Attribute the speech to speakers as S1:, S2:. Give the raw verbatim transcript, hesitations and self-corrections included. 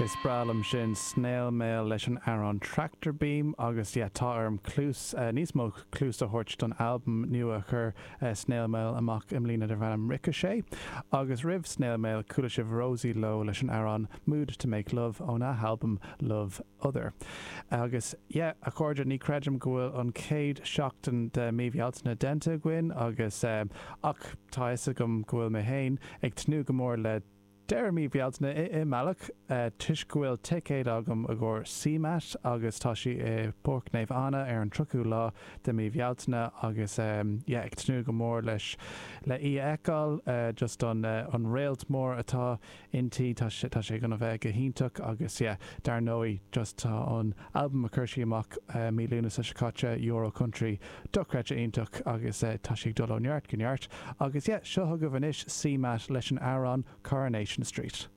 S1: Is breá liom sin Snail Mail leis an amhrán Tractor Beam agus yeah, tá orm cluas uh, níos mó cluas a thabhairt don albam nua a chuir uh, Snail Mail amach i mbliana darb ainm Ricochet agus roimh Snail Mail chuala sibh Rosie Lowe leis an amhrán Mood to Make Love óna halbam Love Other. Agus yeah, a chairde ní chreidim go bhfuil an chéad seachtain de mí Bealtaine déanta againn agus um, ach tá fhios agam go bhfuil mé féin ag tnúth go mór le deireadh mí Bealtaine i i mbealach uh, toisc go bhfuil ticéad agam i gcomhair CMAT agus tá sí i Páirc Naomh Anna ar an tríochú lá de mí Bhealtaine agus um, yeah, ag tnúth go mór leis le í a fheiceáil uh, just an uh, an réalt mór atá inti tá sé tá sé gonna bheith go hiontach agus yeah, dar ndóigh just tá an album a chuir sí amach uh, mí Lúnasa seo caite Euro Country dochreidte iontach agus uh, tá sé ag dul ó neart go neart agus yeah, seo chugaibh anois CMAT leis an amhrán Coronation Street.